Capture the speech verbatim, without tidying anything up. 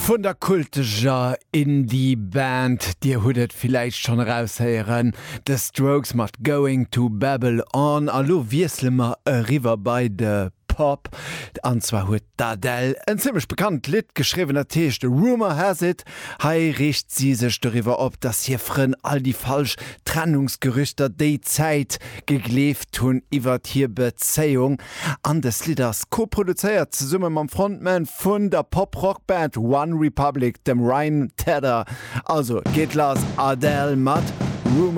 Vun der kulteger Indie-Band, Dir hutt et villäicht schonn eraushéieren, The Strokes mat Going to Babylon. A lo wiessele mer eriwwer bei de Pop. An zwar huet d'Adele en zimmlech bekannt Lidd geschriwwen, dat heescht Rumor Has It. Hei reegt si sech doriwwer op, dass hir Frënn all déi falsch Trennungsgerüchter déi Zäit gegleeft hunn iwwer hir Bezéiung. An dëst Lidd ass koproduzéiert zesumme mam Frontman vun der Pop-Rock-Band One Republic, dem Ryan Tedder. Also geet lass Adele mat Rumor